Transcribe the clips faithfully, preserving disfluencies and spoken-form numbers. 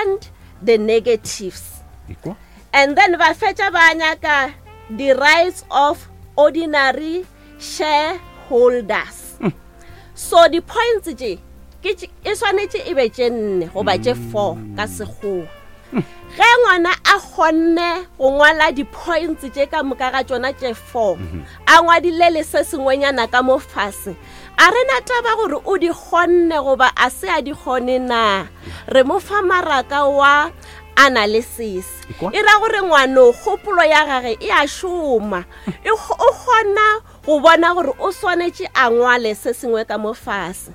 and the negatives. Ekwa. And then ba fetša ba nyaka the rights of ordinary shareholders. So di-points tše ke tše- e swanetše e be tše nne goba tše four ka Sekgowa. Ge ngwana a kgonne go ngwala di-points tše ka moka ga tšona tše four, a ngwadile le se sengwenyana ka mo fase, a re na taba gore o di kgonne goba a se a di kgone na, re mo fa maraka wa analysis. Ekwa. E ra gore ngwano kgopolo ya gage e a šoma, E kgo- o kgona go bona gore o swanetše a ngwale se sengwe ka mo fase.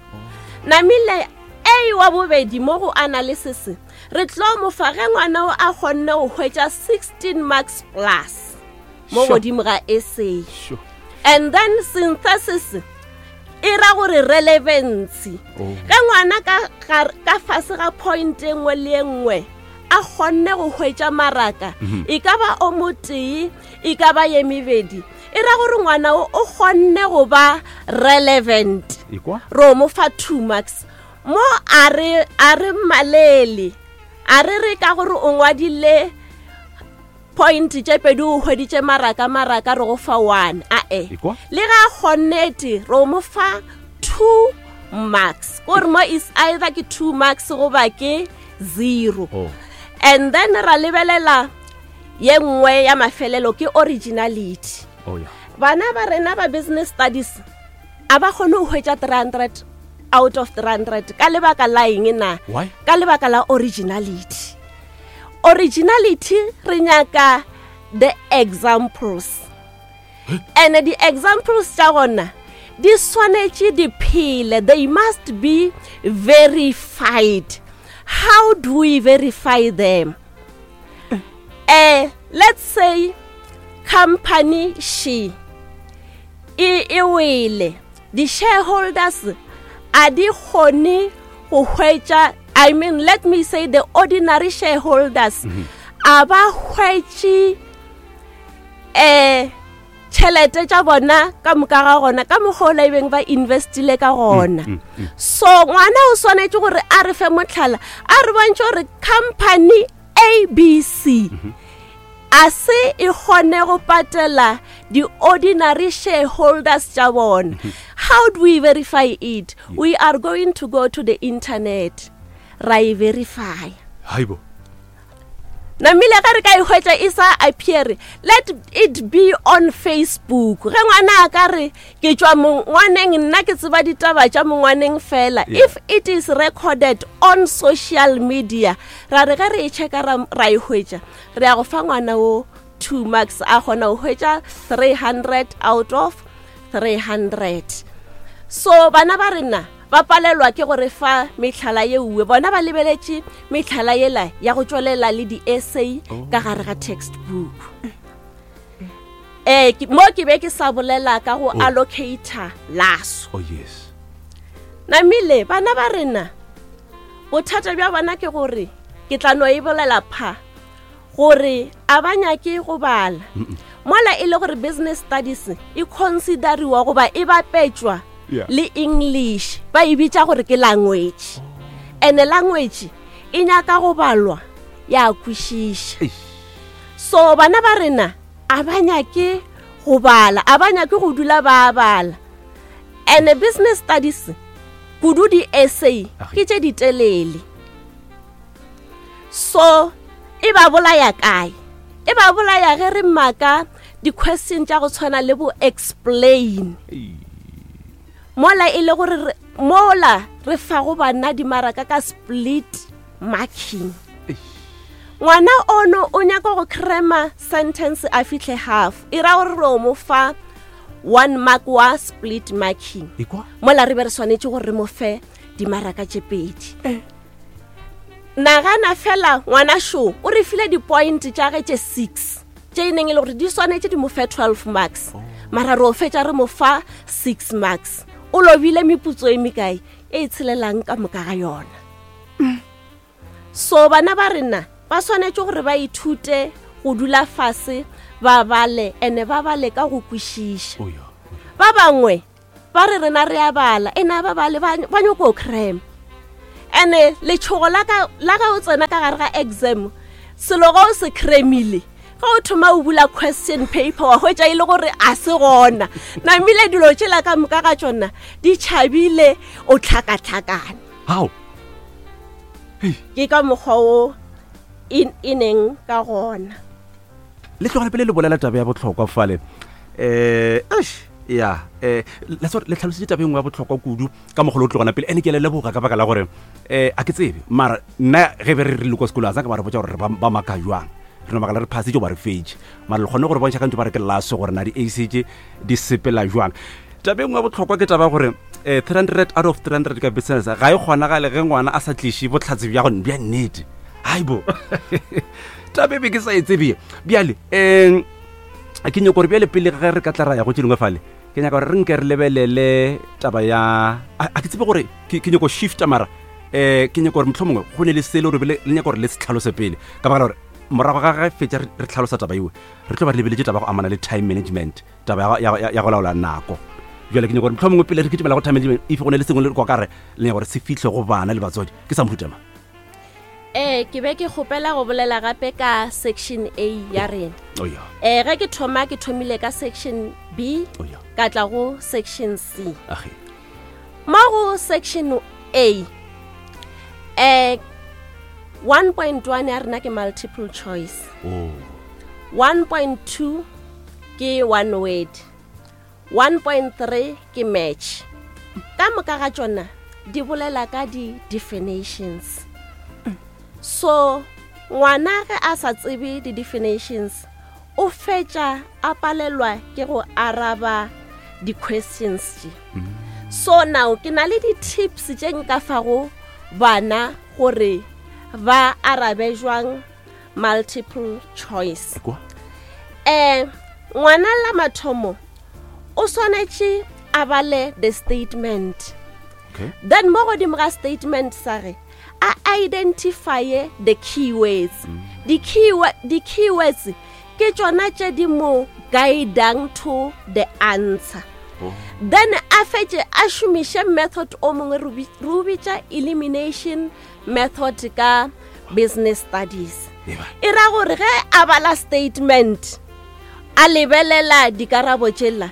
Namile A wa bobedi mo go analysis re tlo mo fa ge ngwana o a kgonne go hwetša sixteen marks plus mo Sure. godimo ga essay. Sure. And then synthesis e ra gore relevancy. Oh. Ge ngwana ka gar-, ka fase ga point e nngwe le e nngwe a kgonne go hwetša maraka, e ka ba o motee, e ka ba ye mebedi, e ra gore ngwana o o kgonne go ba relevant. Ekwa. Ro mo fa two marks. Mo a re, a re mmalele, a re re ka gore o ngwadile point tše pedi o hweditše maraka, maraka re go fa one. Ae. Ekwa. Le ga a kgonnete, ro mo fa two marks. Kore mo is either ke two marks goba ke zero. Oh. And then ra lebelela ye nngwe ya mafelelo ke originality. Oh, yeah. Bana ba rena ba business studies a ba kgone go hwetša three hundred out of three hundred ka lebaka la eng na? Why? Ka lebaka la originality. Originality re nyaka the examples. And the examples tša gona di swanetše di phele, they must be verified. How do we verify them? Eh, let's say company she e, e wele, the shareholders a di kgone go hwetša, I mean, let me say the ordinary shareholders Mm-hmm. a ba hwetše, eh, tšhelete tša bona ka moka ga gona ka mokgwa o la ebeng ba investile ka gona. Mm, mm, mm. So ngwana o swanetše gore a re fe motlhala, a re bontšhe gore company A B C Mm-hmm. a se e kgone go patela di-ordinary shareholders tša bona. Mm-hmm. How do we verify it? Yeah. We are going to go to the internet ra e verify. Haibo. Namile ge re ka e hwetša e sa appear, let it be on Facebook. Ge ngwana a ka re ke tšwa mongwaneng, nna ke tseba ditaba tša mongwaneng fela. Yeah. If it is recorded on social media, ra re ge re e checka ra, ra e hwetša, re ya go fa ngwana o two marks, a kgona go hwetša three hundred out of three hundred. So bana ba rena ba palelwa ke gore fa metlhala ye uwe, bona ba lebeletše metlhala yela ya go tšwelela le di-essay Oh. ka gare ga textbook. Eh, ke, mo ke be ke sa bolela ka go Oh. allocator laso. Oh, yes. Namile bana ba rena bothata bja bona ke gore ke tla no e bolela pha gore a ba nyake go bala. Mm-mm. Mola e le gore business studies e consideriwa goba e bapetšwa Yeah. le English, ba e bitša gore ke language. And language e nyaka go balwa ya kwešiša. Eish. So bana ba rena a ba nyake go bala, a ba nyake go dula ba bala. And business studies kudu di-essay Age. ke tše ditelele. So e ba bolaya kae? E ba bolaya ge re maka di-question tša go tshwana le bo explain. Ei. Mola e le gore re, mola re fa go bana dimaraka ka split marking. Eish. Ngwana ono o nyaka go crema sentence a fihle half, e ra gore re o mo fa one mark wa split marking. Ekwa? Mola re be re swanetše gore re mo fe dimaraka tše pedi. Eh. Nagana fela ngwana šo o re file di-point tša ge tše six tše e neng e le gore di swanetše di mo fe twelve marks. Oh. Mara re o fetša re mo fa six marks. O lobile meputso e mekae e e tshelelang ka moka ga yona. So bana ba rena ba swanetše gore ba ithute go dula fase ba bale, ene ba bale ka go kwešiša. Oh, yeah. Oh, yeah. Ba bangwe ba re rena re a bala, ene a ba bale, ba, ba nyako cram. Ene letšhogo la ka la ge o tsena ka gare ga exam, selo ga o se cremile, ge o thoma o bula question paper wa hwetša e le gore a se gona. Namile dilo tšela ka moka ga tšona di tšhabile, o tlhakatlhakane. How? Ke ka mokgwa o e e neng ka gona. Le tlogela pele le bolela taba ya bohlokwa fale. Eh, eish, ya, eh la tsore le tlhalositse taba e nngwe ya bohlokwa kudu ka mogolo o tlogana pele. Ene ke a le leboga ka baka la gore eh a ke tsebe, mara nna ge be re re le kwa sekolo a ka ba re botsa gore re ba ba maka jwang. Re no makala re phasitse ba re fetše, mara le kgone gore bontšha ka ntho ba re ke laso gore na di A C tše di sepela jwang. Taba e nngwe ya bohlokwa ke taba ya gore eh three hundred out of three hundred ka business ga e kgonagale ge ngwana a sa tliše bohlatse bja go bja nnete. Haibo, taba e be ke sa e tsebe. Bjale um ke nyako gore bjale pele ge re ka tla ra ya go tše dingwe fale, ke nyaka gore re nke re lebelele taba ya a a ke tsebe gore ke ke nyako shifta, mara um ke nyako gore mohlomongwe go ne le sele gore le le nyaka gore le se tlhalose pele, ka baka la gore morago ga ge fetša re re tlhalosa taba eo, re tlo ba re lebeletše taba ya go amana le time management, taba ya go- ya- ya go laola nako. Bjale ke nyako gore mohlomongwe pele re kitimela go time management, if go ne le sengwe le kwa kare le nyaka gore se fihle go bana le batswadi, ke sa mohuta mang? Ee, ke be ke kgopela go bolela gape ka section A ya rena. Oh ya. um ge ke thoma, ke thomile ka section B, Oh ya. ka tla go section C. Age. Mo go section A, um one point one ya rena ke multiple choice, oh one point two ke one word, one point three ke match. Ka moka ga tšona di bolela ka di-definitions. So ngwana ge a sa tsebe di-definitions, o fetša a palelwa ke go araba di-questions tše. So now ke na le di-tips tše nka fago bana gore ba arabe jwang multiple choice. Kwa. um ngwana la mathomo o swanetše a bale the statement, okay then mo godimo ga statement sa ge a identifye the keywords. Di-keywo- di-keywords ke tšona tše di mo guidang to the answer. Oh. Then a fetše a šomiše method o mongwe re o bi- re o bitša elimination method ka business studies. Eba. E ra gore ge a bala statement, a lebelela dikarabo tšela,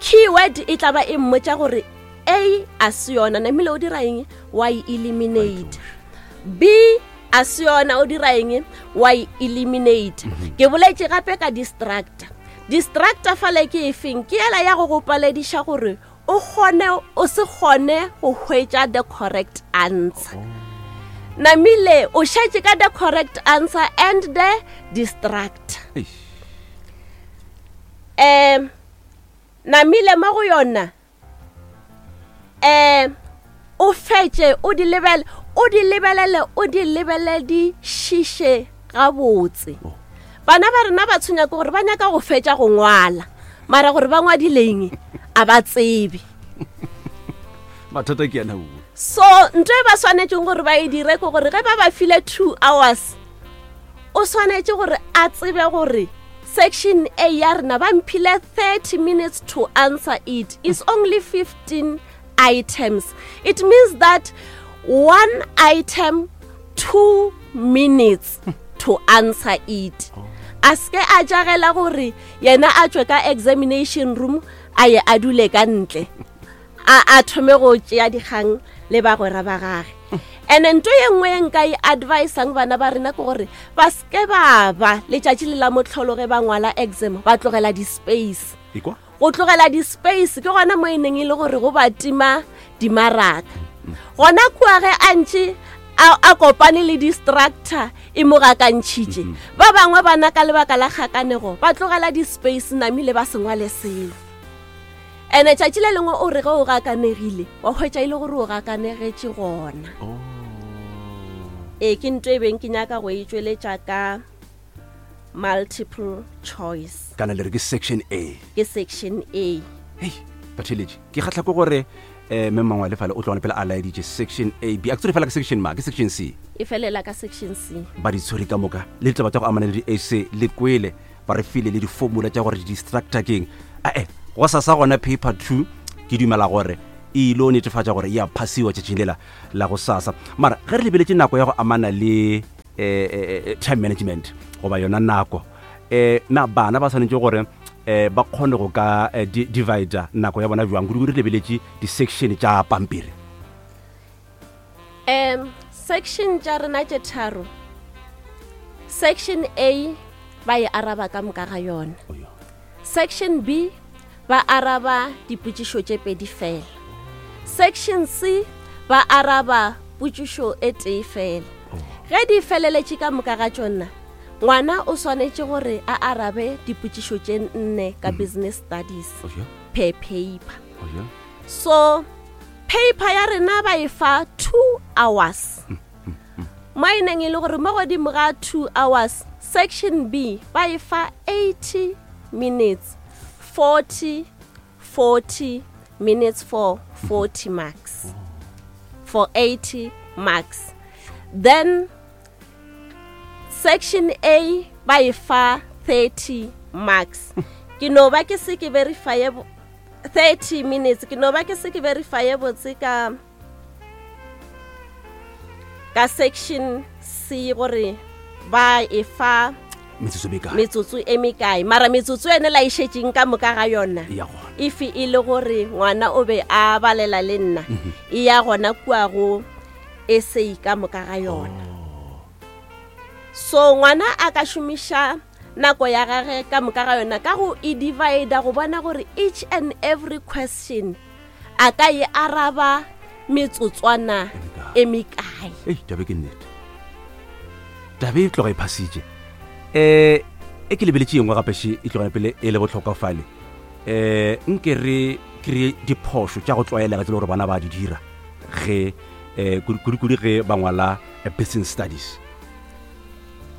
keyword e tla ba e mmotša gore A a se yona, namile o dira eng? Wa e eliminate. B a se yona, o dira eng? Wa e eliminate. Ke boletše gape ka distractor. Distractor fale ke efeng? Ke ela ya go go palediša gore o kgone o se kgone go hwetša the correct answer. Namile o šetše ka the correct answer and the distractor. Eish. um namile mo go yona um o fetše o di lebele, o di lebelele, o di lebeledišiše gabotse. Oh. Bana ba rena ba tshwenya ke gore ba nyaka go fetša go ngwala, mara gore ba ngwadileng a ba tsebe. Mathata ke yana o. So ntho e ba swanetšeng gore ba e dire ke gore ge ba ba file two hours, o swanetše gore a tsebe gore section A ya rena ba mphile thirty minutes to answer it, is only fifteen items. It means that one item, two minutes to answer it. A seke a jagela gore yena a tšwe ka examination room a ye a dule ka ntle, a a thome go tšea dikgang le bagwera ba gage. And nto ye nngwe ye nka e advisang bana ba rena ke gore ba seke ba ba letšatši le la motlholo ge ba ngwala exam ba tlogela di-space. Ekwa. Go tlogela di-space ke gona mo e neng e le gore go ba tima dimaraka gona kua ge a ntše a a kopane le distractor e mo gakantšhitše. Ba bangwe bana ka lebaka la kgakanego ba tlogela di-space, namile ba se ngwale selo. Ene tšatši le lengwe o re ge o gakanegile wa hwetša e le gore o gakanegetše gona. Oh. Ee, ke nto e beng ke nyaka go e tšweletša ka multiple choice. Kana le re ke section A? Ke section A. Hei, batheletše, ke kgatlha ke gore um mme mangwe le fale o tlogane pele a laeditše section A, B, a ke tsore fela ka section ma ke section C. E felela ka section C. Ba di tshwere ka moka le ditaba tša go amana le di-A C le kwele ba re file le di-formula tša gore di-distractor keng. Ae, go sa sa gona paper two, ke dumela gore e ile o netefatša gore ya phasiwa tšatšing lela la go sasa. Mara ge re lebeletše nako ya go amana le eh, time management goba yona nako, eh na bana ba swanetše gore eh ba kgone go ka eh, di divide nako ya bona bjang, kudu re lebeletše di-section tša pampiri? Um section tša rena tše tharo, section A ba e araba ka moka ga yona, section B ba araba dipotšišo tše pedi fela, section C ba araba potšišo e tee fela. Ge di feleletše ka moka ga tšona, ngwana o swanetše gore a arabe dipotšišo tše nne ka business studies per paper. So paper ya rena ba e fa two hours, mo e neng e le gore mo godimo ga two hours, section B ba e fa eighty minutes, forty forty minutes for forty marks, for eighty marks. Then section A ba e fa thirty marks. Ke no ba ke se ke verify thirty minutes, ke no ba ke se ke verify botse ka ka section C gore ba e fa metsotso e mekae, mara metsotso ene la e šetšeng ka moka ga yona if e le gore ngwana o be a balela le nna, e ya gona kua go essay ka moka ga yona. So ngwana a ka šomiša nako ya gage ka moka ga yona ka go e divide, go bona gore each and every question a ka e araba metsotswana e mekae. Ei, tabe ke nnete, tabe e tloga e phasitše. Eh e ke lebeletše engwe gape še e tlogela pele e le bohlokwa fale. Eh nke re kry diphošo tša go tlwaelega tse le gore bana ba di dira ge eh kudu-kudu ge ba ngwala business studies.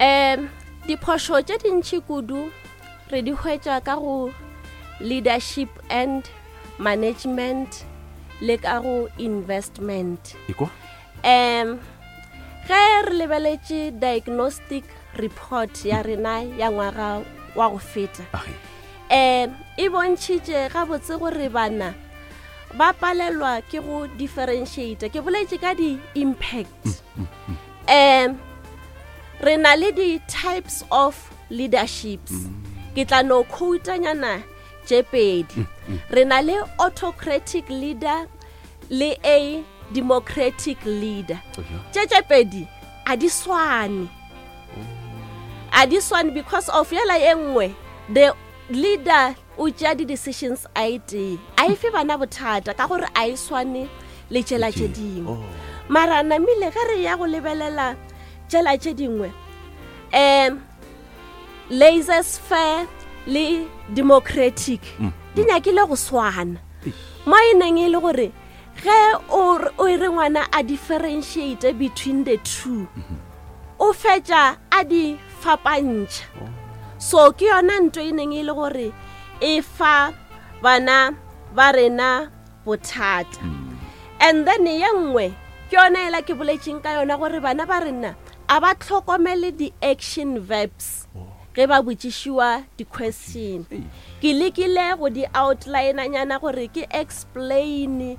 Um diphošo tše dintši kudu re di hwetša ka go leadership and management le ka go investment. Iko? Um ge re lebeletše diagnostic report ya rena ya ngwaga wa go feta, um e bontšhitše gabotse gore bana ba palelwa ke go differentiate. Ke boletše ka di-impact. Um re na le di-types of leaderships. Ke tla no quoteanyana tše pedi. Re na le autocratic leader le a democratic leader. Tše tše pedi a di swane, a di swane because of yela e nngwe the leader o tšea di-decisions a e tee, a e fe bana bothata ka gore a e swane le tšela tše dingwe. Mara namile ge re ya go lebelela tšela tše dingwe, um laissez-faire le democratic di nyakile go swana, mo e neng e le gore ge o e re ngwana a differentiate between the two, o fetša a di fapantšha. So ke yona ntho e neng e le gore e fa bana ba rena bothata. And then ye nngwe ke yona ela ke boletšeng ka yona gore bana ba rena a ba tlhokomele di-action verbs ge ba botšišiwa di-question. Ke lekile go di outline-anyana gore ke explain,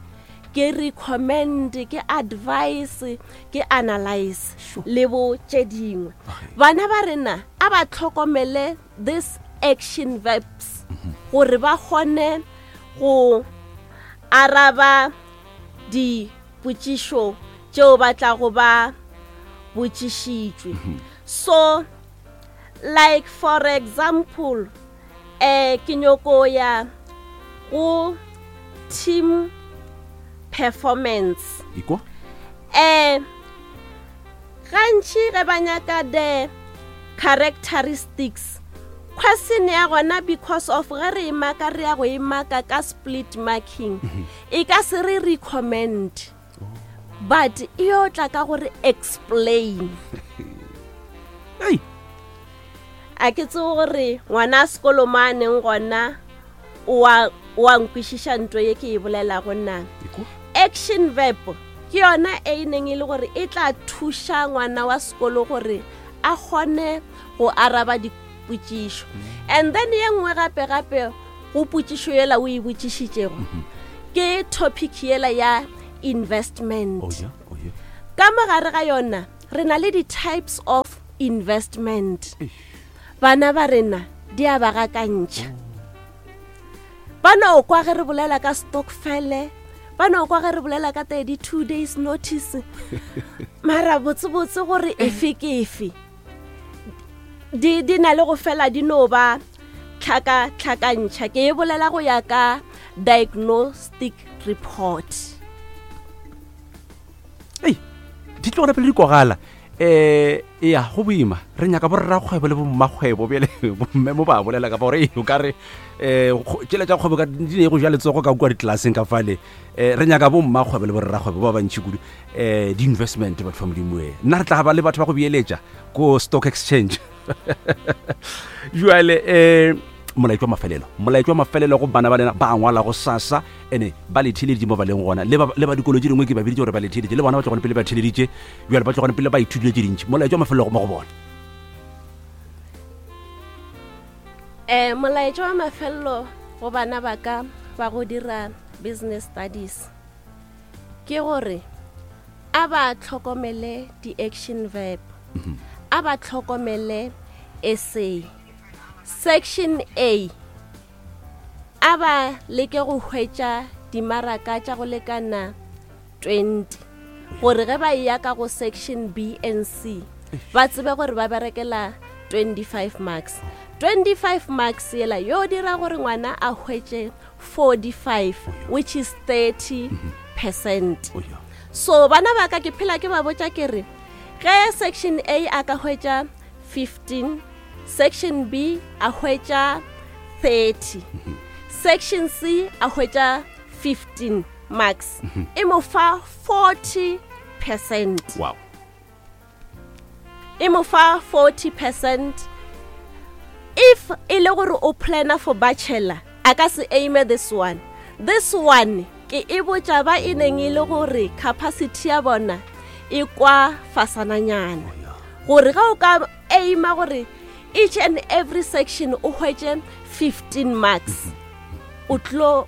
ke recommend, ke advice, ke analyze le bo tše dingwe. Bana ba rena a ba tlhokomele this action verbs gore ba kgone go araba dipotšišo tšeo ba tlago ba botšišitšwe. So like for example, eh ke nyoko ya go team performance. Iko? Eh gantši ge ba nyaka the characteristics, question ya gona because of ge re e maka re ya go e maka ka split marking, e ka se re recommend, but e yo tla ka gore explain. Ei, a ke tsebe gore ngwana a sekolo mo a neng gona o a nkwešiša ntho ye ke e bolelago na. Action verb ke yona e neng e le gore e tla thuša ngwana wa sekolo gore a kgone go araba dipotšišo. And then ye nngwe gape gape go potšišo yela o e botšišitšego, Ke topic yela ya investment. Oh yeah, oh yeah. Ka mogare ga yona re na le di-types of investment. Bana ba rena di a ba gakantšha. Ba no kwa ge re bolela ka stokfele, ba no kwa ge re bolela ka thirty-two days notice. Mara botsebotse gore efe ke efe, di, di na le go fela di no ba tlhaka tlhakantšha. Ke e bolela go ya ka diagnostic report. Ei, di tlo gona pele di kogala. Eh, ya go boima re nyaka borrakgwebo le bommakgwebo bjale bomme mo ba bolela ka fa gore o ka re eh tšela tša kgwebo ka di ne go ja letsogo ka kua ditlelaseng ka fale. Eh re nyaka bommakgwebo le borrakgwebo ba bantši kudu, eh di-investment batho ba Modimo e nna re tla ba le batho ba go beeletša ko stock exchange. Jwale eh molaetša wa mafelelo, molaetša wa mafelelo go bana ba lena ba ngwala go sasa ene ba le theeleditše mo ba leng gona, le ba le ba dikolo tše dingwe ke ba biditše gore ba le theeleditše, le bona ba tlo gona pele ba theeleditše, bjale ba tlo gona pele ba ithutile tše dintši. Molaetša wa mafelelo mo go bona. Eh molaetša wa mafelelo go bana ba ka ba go dira business studies ke gore a ba tlhokomele di-action verb, a ba tlhokomele essay. Section A, a ba leke go hwetša dimaraka tša go lekana twenty, gore ge ba ya ka go section B and C ba tsebe gore ba berekela twenty-five marks. twenty-five marks yela yo dira gore ngwana a hwetše forty-five, which is thirty percent. So bana ba ka ke phela ke ba botša ke re ge section A a ka hwetša fifteen, section B a hwetša thirty, section C a hwetša fifteen marks, e mo fa forty percent. Wow. E mo fa forty percent. If e le gore o plana for bachelor, a ka se aime this one. This one ke e botša ba e neng e le gore capacity ya bona e kwa fasananyana, gore ga o ka aima gore each and every section o hwetše fifteen marks, o tlo,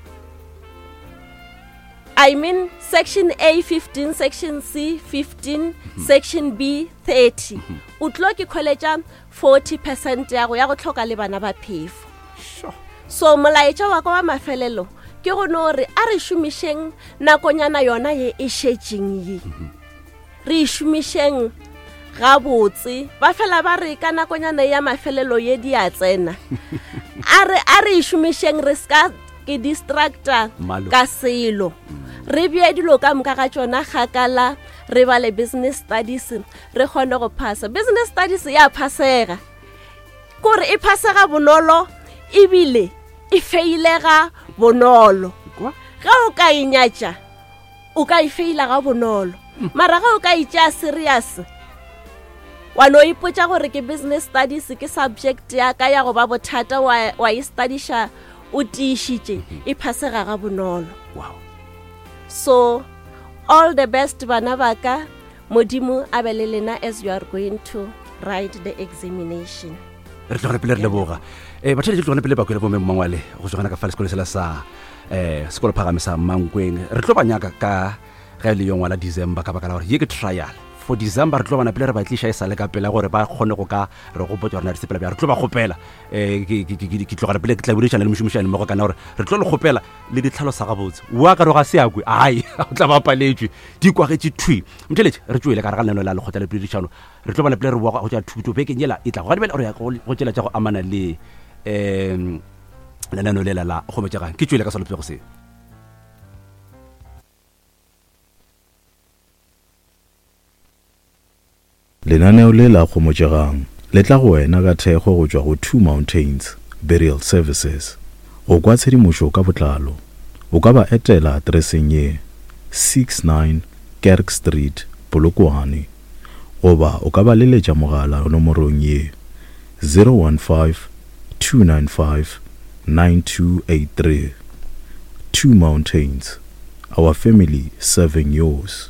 I mean section A fifteen, section C fifteen, section B thirty, o tlo ke khweletša forty percent ya go ya go tlhoka le bana ba phefo. So molaetša wa ka wa mafelelo ke go no re a re šomišeng nakonyana yona ye e šetšeng ye, re e šomišeng gabotse. Ba fela ba re ka nakonyana ya mafelelo ye di a tsena, a re a re e šomišeng, re ska ke distracta ka selo, re bee dilo ka moka ga tšona kgakala, re bale business studies re kgone go phasa. Business studies ya phasega, kore e phasega bonolo ebile e feilega bonolo. Ge o ka e nyatša o ka e feila ga bonolo, mara ge o ka e tšea serious wa no ipotša gore ke business studies ke subject ya ka ya go ba bothata, wa wa e studiša o tiišitše, e phasega ga bonolo. Wow. So all the best bana ba ka, Modimo a be le lena as you are going to write the examination. Re tlo pele re leboga. Eh batho le tlo pele ba kwele bo mmangwale go tsogana ka fa sekolo sela sa eh sekolo phagame sa Mankweng. Re tlo ba nyaka ka ge le yo ngwala December ka baka la gore ye ke trial. For December re tlo bana pele re ba tliša e sale ka pela gore ba kgone go ka re gopotša gore na re sepela bjang. Re tlo ba kgopela eh ke ke ke tlogela pele ke tla boledišana le mošomišane mmogo kana gore re tlo le kgopela le ditlhalosa gabotse. Wa ka re ga se akwe, ai o tla ba paletšwe di kwagetše thwi. Motšheletše re tšwele ka re ga lenaneo la lekgotla le poledišano, re tlo bana pele re boa go tša thuto bekeng yela e tla go gadibela re ya go tšela tša go amana le um lenaneo lela la kgomotšegang. Ke tšwele ka salopego se. Lenaneo le la kgomotšegang le tla go wena ka thekgo go tšwa go Two Mountains Burial Services. Go kwa tshedimošo ka botlalo o ka ba etela atereseng ye six nine Kerk Street, Polokwane, goba o ka ba leletša mogala nomorong ye zero one five two nine five nine two eight three. Two Mountains, our family serving yours.